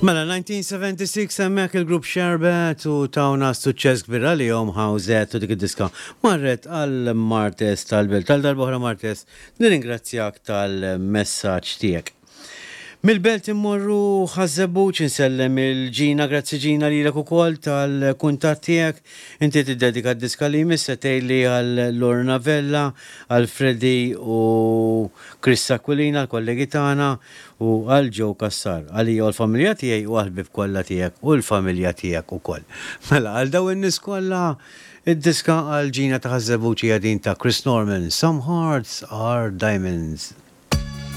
Mela 1976 hemmhekk il-grupp Sherbet u tawna suċċess kbir għalihom Howzat u dik id-diska marret għal Martes tal-Belt. Għal darb'oħra Martes nirringrazzjak tal-messaġġ tiegħek. Mill-Belt immorru Ħaż-Żebbuġ insellem il-Ġina, grazzi Ġina lilek ukoll tal-kuntatt tiegħek. Inti tiddedika d-diska li jmiss se tgħidli għal Lorna Vella, għal Freddy u Chris Aquilina, l-kollegi tagħna, u għal Joe Cassar, għalija u l-familja tiegħi u għall-ħbieb kollha tiegħek u l-familja tiegħek ukoll. Mela għal dawn in-nies kollha, id-diska għal Ġina ta' Ħaż-Żebbuġ hija din ta' Chris Norman, Some Hearts Are Diamonds.